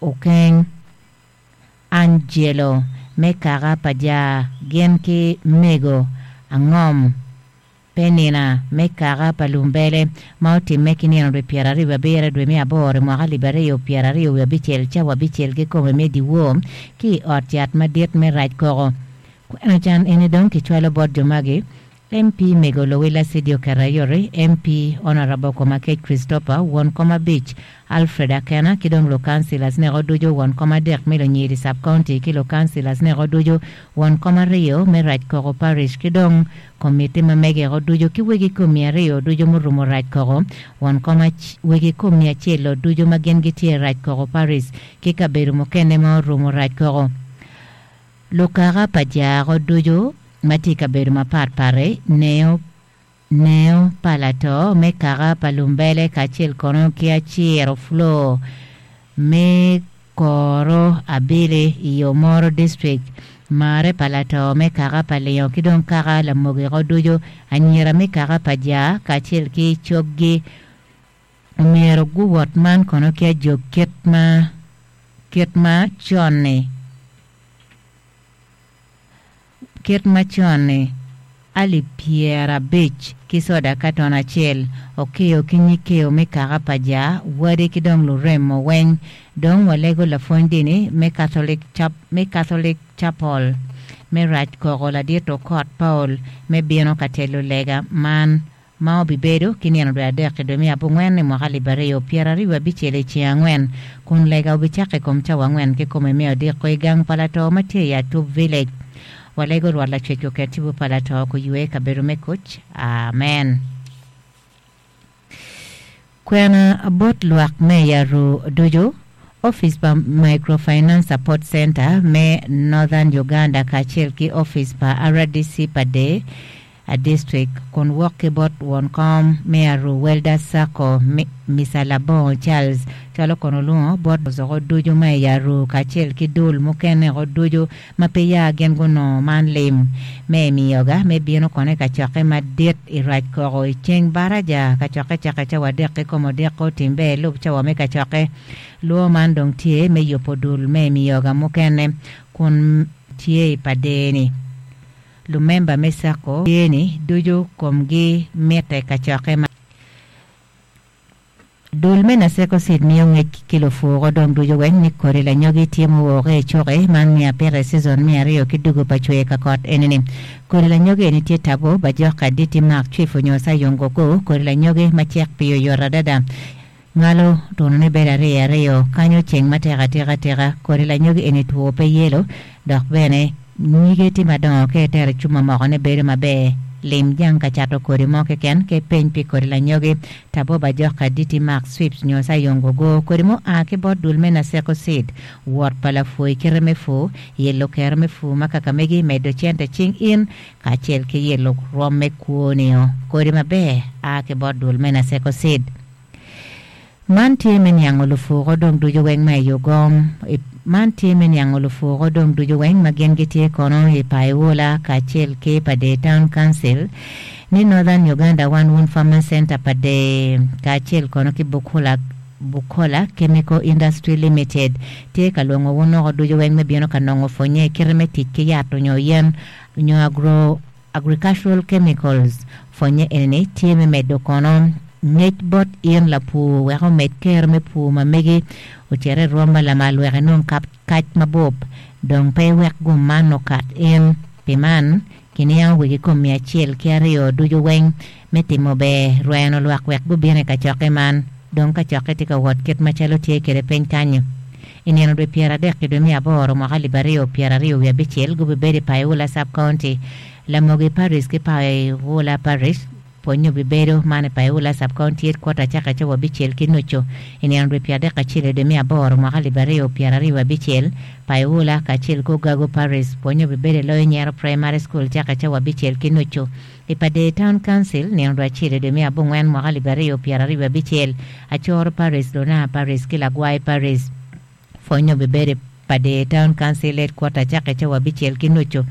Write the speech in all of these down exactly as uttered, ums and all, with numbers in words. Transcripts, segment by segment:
Okeng Angelo me kaka pa ja gin ki mego angom Penina me kaka pa lumbele ma otimme ki nino dwe pyeraryo abiro dwe me aboro mwaka alip aryo pyeraryo wiye abicel cawa abicel kikome me dyewor ki i ot yat madit me rac koko kwena can eni dong kicwalo bot jo magi M P Mego Lowila Sidio Kerayori, M P Honorable Komakech Christopher, won kom abic Alfred Akena ki dong lukansilas neko ducu won kom adek me Lunyiri Sub-County ki lukansilas neko ducu won kom aryo me Rac Koko Parish ki dong komiti ma megeko ducu ki wegi komi aryo ducu murumo Rac Koko won kom wegi komi acel ducu ma gin gitye Rac Koko Parish ki kabedo mukene ma orumo Rac Koko. Lukaka pa jako ducu ma tye i kabedo mapatpat neo neo pa lato me kaka pa lumbele kacel kono ki aciro flo me koro abili i Omoro District mare pa lato me kaka pa lingo ki dong kaka lamogiko ducu anyira me kaka pa ja kacel ki coggi omyero guwot man kono ki ajog kit ma kit ma con-ni kit ma con-ni alip pyerabic ki soda katon acel okeyo ki nyikeo me kaka pa ja wadi ki dong lurem moweng dong walego lapwony dini me Catholic, Chap me Catholic Chapel me Rac Koko ladit Okot Paul me bino ka telo lega man ma obibedo ki nino dwe adek dwe me abongwen i mwaka alip aryo pyeraryo abicel i ceng angwen kun lega obicako i kom cawa angwen kikome me odiko i gang pa lato ma tye i Atup Village. Walego Rwot lacwec oket tipo pa lato kuywe kabedo me kuc. Amen. Kwena bot lwak me Yaru ducu Office pa Microfinance Support Center me Northern Uganda kacel ki Office pa R D C pa de a district kun wok ki bot won kom me Aru Welder Sacco Mister Labongo Charles cwalo kono lungo bot zoko ducu ma i Aru kacel ki dul mukene ko ducu ma pe ya gin gunongo man lim me miyoga me bino kone ka cokke madit i Rac Koko i ceng baraja ka cokke cake cawa adek kikome odiko timbe lub cawa me ka cokke luo man dong tye me yubo dul me miyoga mukene kun tye i padeni lumemba me Sacco yeni ducu komgi mitte ka cokke ma dul me Naseko Seed miyo ngec ki lufuko dong ducu weng ni kodi lanyogi tye muwoke i cuki man miyo apite season me aryo ki dugo pa cwe ka kot enini kodi lanyogi eni tye tabo bajoka diti mak cwifo nyo sayongo go kodi lanyogi ma cek piyo yot adada ngalo tuno ni bedo aryo aryo kanyo ceng matek atika tika kodi lanyogi eni two pe yelo dok bene nyige tye madongo ka itero cuma moko ne bedo maber lim jang ka cato kodi mo keken ke peny pi kodi lanyogi tabo bajoka diti mak swips nyo sayongo go kodi mo a ki bot dul me Naseko Seed wot pa lapui kite me fu yelo kero me fu ma kaka megi medo cente cing in kacel ki yelo rwom me kwonio kodi maber a ki bot dul me Naseko Seed. Man tye me niango lufuko dong ducu weng ma i Ugom man tye me niango lufuko dong ducu weng ma gin gitye kono i Paiwula kacel ki pa de Town Council ni Northern Uganda One Wound Farmer Center pa de kacel kono ki Bukola Bukola Chemical Industry Limited tye ka lwongo wunoko ducu weng me bino ka nongo pwonye kite me tic ki yat onyo yen onyo agro agricultural chemicals pwonye enini tye me medo kono ngec bot in lapur wek omed kero me pur ma megi ocere rwom ma lamal wek enong kac mabup dong pe wek gum man okat in pi man kiniango wegi kom mia acel ki aryo ducu weng me timo ber rweno lwak wek gubino i kacokke man dong kacokke tye ka wot kit macalo tye kede piny kanyo i nino dwe pyeradek ki dwe me aboro mwaka alip aryo pyeraryo wiye abicel gubibedo i Paiwula Sub-County Lamogi Parish ki Paiwula Parish pwonyo bibedo man i Paiwula Sub-County headquarter caka cawa abicel ki nucu i nino dwe pyeradek acel dwe me aboro mwaka alip aryo pyeraryo abicel Paiwula kacel ki Ogago Parish pwonyo bibedo i loyo Nyero Primary School caka cawa abicel ki nucu i Padee Town Council nino dwe acel dwe me abongwen mwaka alip aryo pyeraryo abicel Acoro Parish Luna Parish ki Lagwai Parish pwonyo bibedo i Padee Town Council headquarter caka cawa abicel ki nucu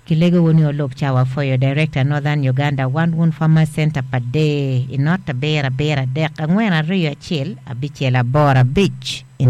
Kilego woni olub cawa foyo Director Northern Uganda One Wound Farmer Center Padee i not abiro abiro adek angwen aryo acel abicel aboro abic.